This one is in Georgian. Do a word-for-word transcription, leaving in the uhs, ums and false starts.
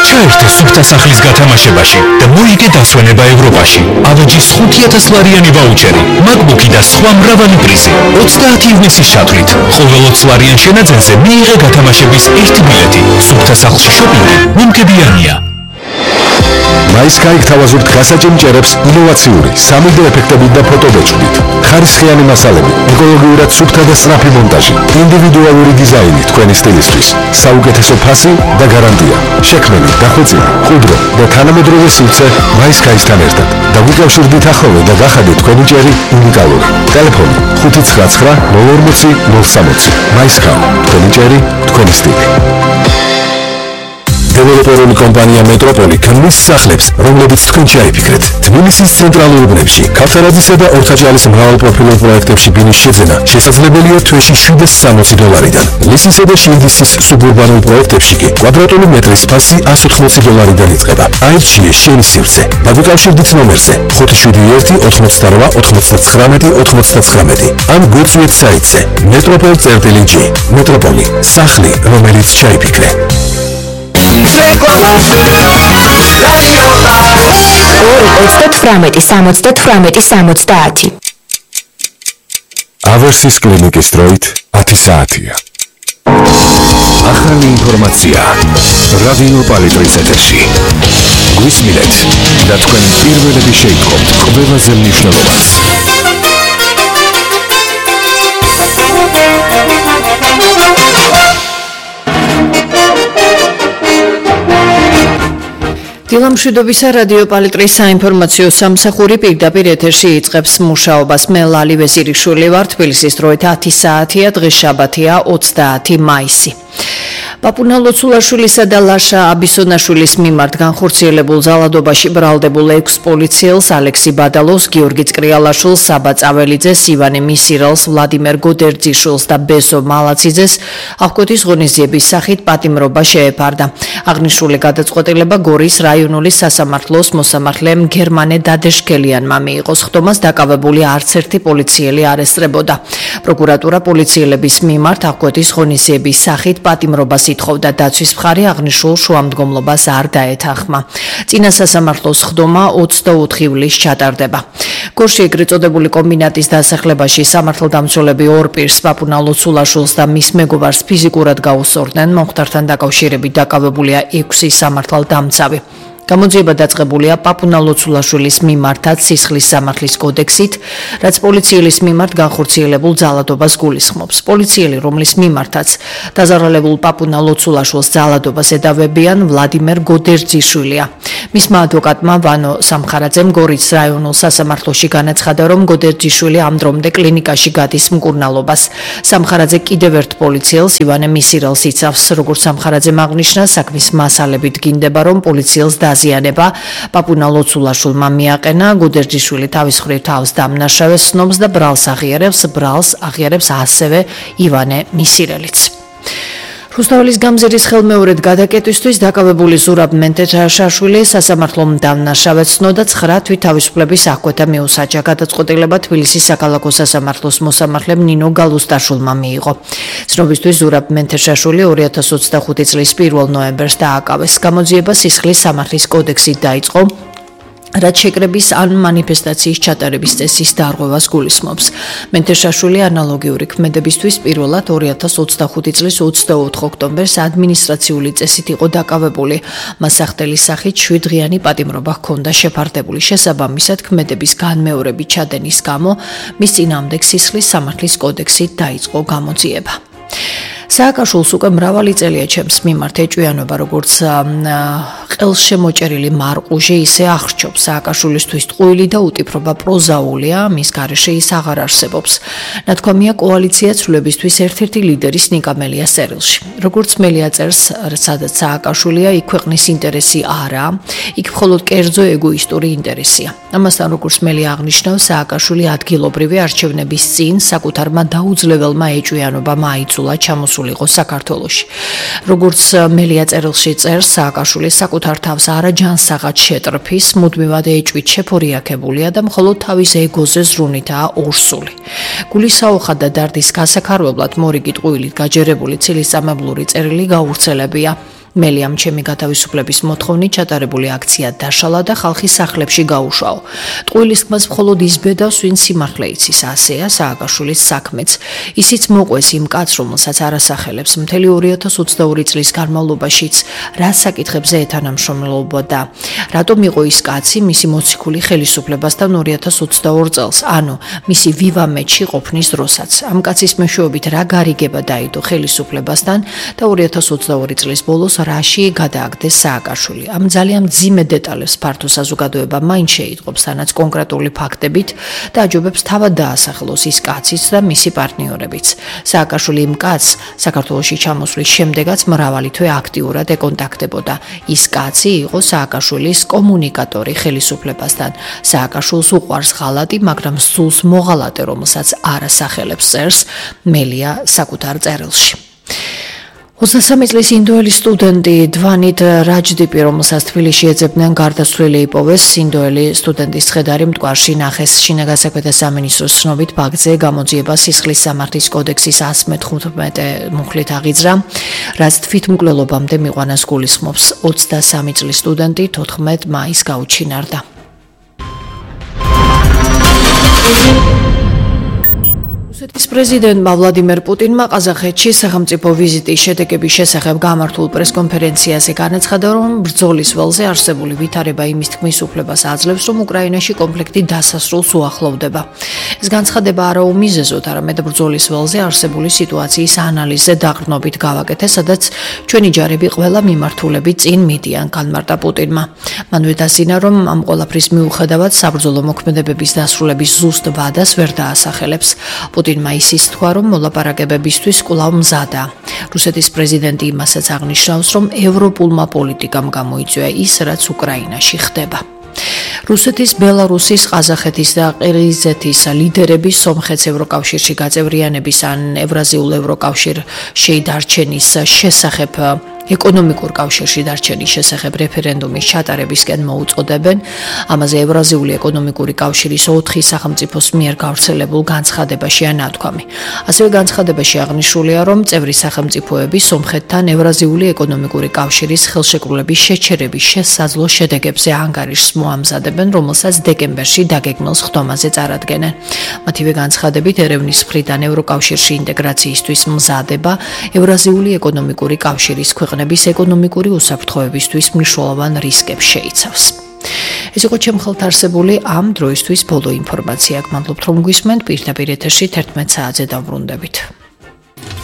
ჩაერთო სუფთა სახლის გათამაშებაში და მოიგე დასვენება ევროპაში. ავეჯის ხუთი ათას ლარიანი ვაუჩერი, MacBook-ი და სხვა მრავალი პრიზი. ოცდაათი ივნისის ჩათვლით. ყოველ ოცი ლარიან შენაძენზე მიიღე გათამაშების ერთი ბილეთი. სუფთა სახლში შოპინგი მომგებიანია. MySky გთავაზობთ გასაჭიმჭერებს ინოვაციური სამი დე ეფექტებით და ფოტობეჭდით. ხარისხიანი მასალები, ეკოლოგიურად სუფთა და სწრაფი მონტაჟი, ინდივიდუალური დიზაინი თქვენი სტილისთვის, საუკეთესო ფასი და გარანტია. შექმნილი, დახვეწილი, მყუდრო და თანამედროვე სივრცე MySky-სთან ერთად. დაგვიკავშირდით ახალო და გახადეთ თქვენი ჭერი უნიკალური. ტელეფონი ხუთი ცხრა ცხრა ნულ ორმოცი ნულ სამოცი. MySky, თქვენი ჭერი, თქვენი სტილი. დეველოპერული კომპანია მეტროპოლი ქმნის სახლებს, რომლებიც თქვენ ჩაიფიქრეთ. თბილისის ცენტრალურ უბნებში, ქავთარაძისა და ორთაჭალის მრავალპროფილურ პროექტებში ბინის შეძენა შესაძლებელია თვეში შვიდას სამოცი დოლარიდან. ლისისა და შილდისის სუბურბანულ პროექტებში კი კვადრატული მეტრის ფასი ასი ოცდაოთხი დოლარიდან იწყება. აირჩიე შენი სივრცე. დაგვიკავშირდით ნომერზე ხუთი შვიდი ერთი ოთხმოცდარვა ოთხმოცდათხრამეტი ოთხმოცდათხრამეტი ან გვიწვიეთ საიტზე მეტროპოლ წერტილი ჯი. მეტროპოლი, სახლი, რომელიც ჩაიფიქრე. ოცდათვრამეტი სამოცდათვრამეტი სამოცდაათი. ავერსის კლინიკის დროით ათი საათია. ახალი ინფორმაცია რადიო პალიტრის ეთერში. გვისმინეთ და თქვენ პირველები შეიტყობთ ყველაზე მნიშვნელოვანს. დილამშვიდობისა რადიო პალიტრის საინფორმაციო სამსახური პირდაპირ ეთერში იწყებს მუშაობას. მე ლალი ვეზირიშვილი ვარ. თბილისის დროით ათი საათია, დღეს შაბათია ოცდაათი მაისი. პაპუნა ლოცულაშვილისა და ლაშა აბისონაშვილის მიმართ განხორციელებულ ძალადობაში ბრალდებულ ექვს პოლიციელს ალექსი ბადალოვს, გიორგი წკრიალაშვილს, საბა წაველიძეს, ივანე მისირალს, ვლადიმერ გოდერძიშვილს და ბესო მალაციძეს აღკვეთის ღონისძიების სახით პატიმრობა შეეფარდა. აღნიშნული გადაწყვეტილება გორის რაიონული სასამართლოს მოსამართლემ გერმანე დადეშქელიანმა მიიღო. სხდომას დაკავებული არც ერთი პოლიციელი არ ესწრებოდა. პროკურატურა პოლიციელების მიმართ აღკვეთის ღონისძიების სახით პატიმრობას ითხოვდა. დაცვის მხარე აღნიშნულ შუამდგომლობას არ დაეთანხმა. წინა სასამართლოს სხდომა ოცდაოთხი ივლისს ჩატარდება. გორში ეგრეთ წოდებული კომბინატის დასახლებაში სამართალდამცველები ორ პირს, პაპუნა ლოცულაშვილს და მის მეგობარს ფიზიკურად გაუსწორდნენ. მომხდართან დაკავშირებით დაკავებულია ექვსი სამართალდამცავი. გამოძიება დაწყებულია პაპუნა ლოცულაშვილის მიმართაც სისხლის სამართლის კოდექსით, რაც პოლიციელის მიმართ განხორციელებულ ძალადობას გულისხმობს. პოლიციელი, რომლის მიმართაც დაზარალებულ პაპუნა ლოცულაშვილს ძალადობას ედავებიან, ვლადიმერ გოდერძიშვილია. მისმა ადვოკატმა ვანო სამხარაძემ გორის რაიონულ სასამართლოში განაცხადა, რომ გოდერძიშვილი ამ დრომდე კლინიკაში გადის მკურნალობას. სამხარაძე კიდევ ერთ პოლიციელს, ივანე მისირალს იცავს. როგორც სამხარაძემ აღნიშნა, საქმის მასალებით გინდება, რომ პოლიციელს დაზიანება პაპუნა ლოცულაშვილმა მიაყენა. გოდერძიშვილი თავის მხრივ თავს დამნაშავეს ცნობს და ბრალს აღიარებს, ბრალს აღიარებს ასევე ივანე მისირელიც. რუსთაველის გამზირის ხელმეორედ გადაკეტვისთვის დაკავებული ზურაბ მენთეშაშვილი სასამართლომ დამნაშავედ ცნო და ცხრა თვითთავისუფლების აღკვეთა მიუსაჯა. გადაწყვეტილება თბილისის საქალაქო სასამართლოს მოსამართლემ ნინო გალუსტაშვილმა მიიღო. ცნობისთვის ზურაბ მენთეშაშვილი ორი ათას ოცდახუთი წლის პირველ ნოემბერს დააკავეს. გამოძიება სისხლის სამართლის კოდექსით დაიწყო, რაც შეკრების ან მანიფესტაციის ჩატარების წესის დარღვევას გულისხმობს. მენთეშაშვილი ანალოგიური ქმედებისთვის პირველად ორი ათას ოცდახუთი წლის ოცდაოთხ ოქტომბერს ადმინისტრაციული წესით იყო დაკავებული. მას სახდელის სახით შვიდდღიანი პატიმრობა ჰქონდა შეფარდებული. შესაბამისად, ქმედების განმეორებით ჩადენის გამო მის წინააღმდეგ სისხლის სამართლის კოდექსით დაიწყო გამოძიება. სააკაშვილს უკვე მრავალი წელია ჩემს მიმართ ეჭვიანობა, როგორც ყელშემოჭერილი მარყუჟი, ისე აღრჩობს. სააკაშვილისთვის ტყუილი და უტიფრობა პროზაულია, მის გარეშე ის აღარ არსებობს. ნათქვამია კოალიცია ცვლილებისთვის ერთ-ერთი ლიდერის ნიკა მელიას წერილში. როგორც მელია წერს, სადაც სააკაშვილია, იქ ქვეყნის ინტერესი არა, იქ მხოლოდ კერძო ეგოისტური ინტერესია. ამასთან როგორც მელი აღნიშნავს, სააკაშვილი ადგილობრივი არჩევნების წინ საკუთარმა დაუძლებელმა ეჭვიანობამ აიძულა ჩამოსულიყო საქართველოში. როგორც მელია წერილში წერს, სააკაშვილი საკუთარ თავს არაჯანსაღად შეტრფის, მუდმივად ეჭვით შეფორიაქებულია და მხოლოდ თავის ეგოზე ზრუნითაა ორსული. გულისაუხად და დარდის გასაქარვებლად მორიგი ტყუილით გაჯერებული ცილისწამებლური წერილი გაურცელებია. მელიამ ჩემი გათავისუფლების მოთხოვნით ჩატარებული აქცია დაშალა და ხალხის სახლებში გაუშაო. ტყუილის ხმას მხოლოდ ის ბედავს, ვინც სიმართლე იცის, ასეა სააკაშვილის საქმეც. ისიც მოყვეს იმ კაცს, რომელსაც არასახელებს მთელი ორი ათას ოცდაორი წლის განმავლობაშიც რა საკითხებზე ეთანამშრომლობდა. რატომ იყო ის კაცი მისი მოციქული ხელისუფლებასთან ორი ათას ოცდაორ წელს, ანუ მისი ვივამეთში ყოფნის დროსაც. ამ კაცის მეშვეობით რა გარიგება დაიდო ხელისუფლებასთან და ორი ათას ოცდაორი წლის ბოლოს რაში გადააგდეს სააკაშვილი. ამ ძალიან მძიმე დეტალებს ფართო საზოგადოება მაინც შეიტყობს, თანაც კონკრეტული ფაქტებით და აჯობებს თავად დაასახელოს ის კაციც და მისი პარტნიორებიც. სააკაშვილი იმ კაცს საქართველოში ჩამოსვლის შემდეგაც მრავალი თვე აქტიურად ეკონტაქტებოდა. ის კაცი იყო სააკაშვილის კომუნიკატორი ხელისუფლებასთან. სააკაშვილს უყვარს ღალატი, მაგრამ სულს მოღალატე, რომელსაც არასახელებს წერს მელია საკუთარ წერილში. ოცდასამი წლის ინდოელი სტუდენტი დვანით რაჯდიპი, რომელსაც თბილისში ეძებდნენ, გარდაცვლილი იპოვეს. ინდოელი სტუდენტის ცხედარი მტკვარში ნახეს. შინაგან საქმეთა სამინისტროს ცნობით, ფაქტზე გამოძიება სისხლის სამართლის კოდექსის ას მეთერთმეტე მუხლით აღიძრა, რაც თვითმკვლელობამდე მიყვანას გულისხმობს. ოცდასამი წლის სტუდენტი თოთხმეტ მაისს გაუჩინარდა. რუსეთის პრეზიდენტმა ვლადიმერ პუტინმა ყაზახეთში სახელმწიფო ვიზიტის შედეგების შესახებ გამართულ პრესკონფერენციაზე განაცხადა, რომ ბრძოლის ველზე არსებული ვითარება იმის თქმის უფლებას აძლევს, რომ უკრაინაში კონფლიქტი დასასრულს უახლოვდება. ეს განცხადება არა უმიზეზოდ, არამედ ბრძოლის ველზე არსებული სიტუაციის ანალიზზე დაყრდნობით გავაკეთე, სადაც ჩვენი ჯარები ყველა მიმართულებით წინ მიდიან, განმარტა პუტინმა. მანვე დასძინა, რომ ამ ყველაფრის მიუხედავად საბრძოლო მოქმედებების დასრულების ზუსტ ვადას ვერ დაასახელებს. პუტინმა ისიც თქვა, რომ მოლაპარაკებებისთვის კვლავ მზადაა. რუსეთის პრეზიდენტი იმასაც აღნიშნავს, რომ ევროპულმა პოლიტიკამ გამოიწვია ის, რაც უკრაინაში ხდება. რუსეთის, ბელარუსის, ყაზახეთის და ყირგიზეთის ლიდერები სომხეთს ევროკავშირში გაწევრიანების ან ევრაზიულ ევროკავშირში დარჩენის შესახებ ეკონომიკურ კავშირში დარჩენის შესახებ რეფერენდუმის ჩატარებისკენ მოუწოდებენ. ამაზე ევრაზიული ეკონომიკური კავშირის ოთხი სახელმწიფოს მიერ გავრცელებულ განცხადებაშია ნათქვამი. ასევე განცხადებაში აღნიშნულია, რომ წევრი სახელმწიფოები სომხეთთან ევრაზიული ეკონომიკური კავშირის ხელშეკრულების შეჩერების შესაძლო შედეგებზე ანგარიშს მოამზადებენ, რომელსაც დეკემბერში დაგეგმილ ხდომაზე წარადგენენ. მათივე განცხადებით, ერევნის მხრიდან ევროკავშირში ინტეგრაციისთვის მზადება ევრაზიული ეკონომიკური კავშირის ქვეყნების ეკონომიკური უსაფრთხოებისთვის მნიშვნელოვან რისკებს შეიცავს. ეს იყო ჩემ ხელთ არსებული ამ დროისთვის ბოლო ინფორმაცია. გმადლობთ, რომ გვისმენთ. პირდაპირ ეთერში თერთმეტ საათზე დავბრუნდებით.